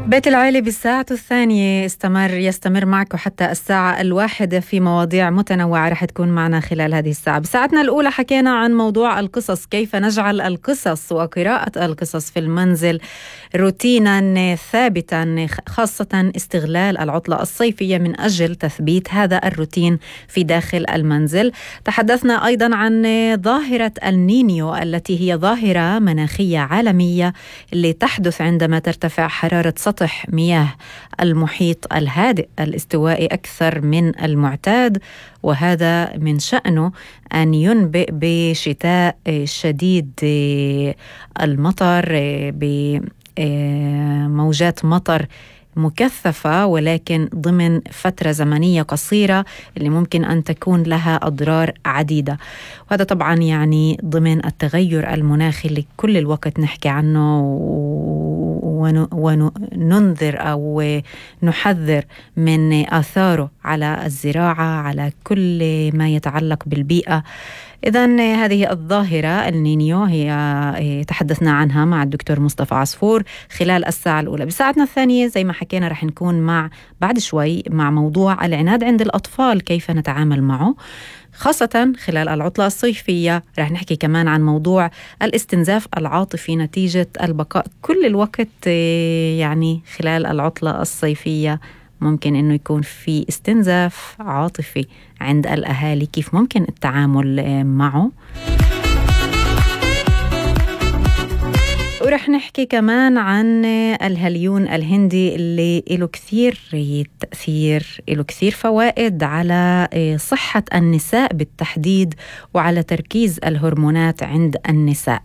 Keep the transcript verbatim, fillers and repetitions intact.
بيت العيلة بالساعة الثانية استمر يستمر معكم حتى الساعة الواحدة في مواضيع متنوعة رح تكون معنا خلال هذه الساعة. بساعتنا الأولى حكينا عن موضوع القصص، كيف نجعل القصص وقراءة القصص في المنزل روتينا ثابتا، خاصة استغلال العطلة الصيفية من أجل تثبيت هذا الروتين في داخل المنزل. تحدثنا أيضا عن ظاهرة النينيو التي هي ظاهرة مناخية عالمية اللي تحدث عندما ترتفع حرارة سطح مياه المحيط الهادئ الاستوائي أكثر من المعتاد، وهذا من شأنه أن ينبئ بشتاء شديد المطر، بموجات مطر مكثفة ولكن ضمن فترة زمنية قصيرة اللي ممكن أن تكون لها أضرار عديدة. وهذا طبعا يعني ضمن التغير المناخي اللي كل الوقت نحكي عنه وننذر أو نحذر من آثاره على الزراعة، على كل ما يتعلق بالبيئة. إذن هذه الظاهرة النينيو هي تحدثنا عنها مع الدكتور مصطفى عصفور خلال الساعة الأولى. بساعتنا الثانية زي ما حكينا رح نكون مع بعد شوي مع موضوع العناد عند الأطفال، كيف نتعامل معه خاصة خلال العطلة الصيفية. رح نحكي كمان عن موضوع الاستنزاف العاطفي نتيجة البقاء كل الوقت يعني خلال العطلة الصيفية، ممكن إنه يكون في استنزاف عاطفي عند الأهالي، كيف ممكن التعامل معه. ورح نحكي كمان عن الهاليون الهندي اللي له كثير تأثير، له كثير فوائد على صحة النساء بالتحديد وعلى تركيز الهرمونات عند النساء.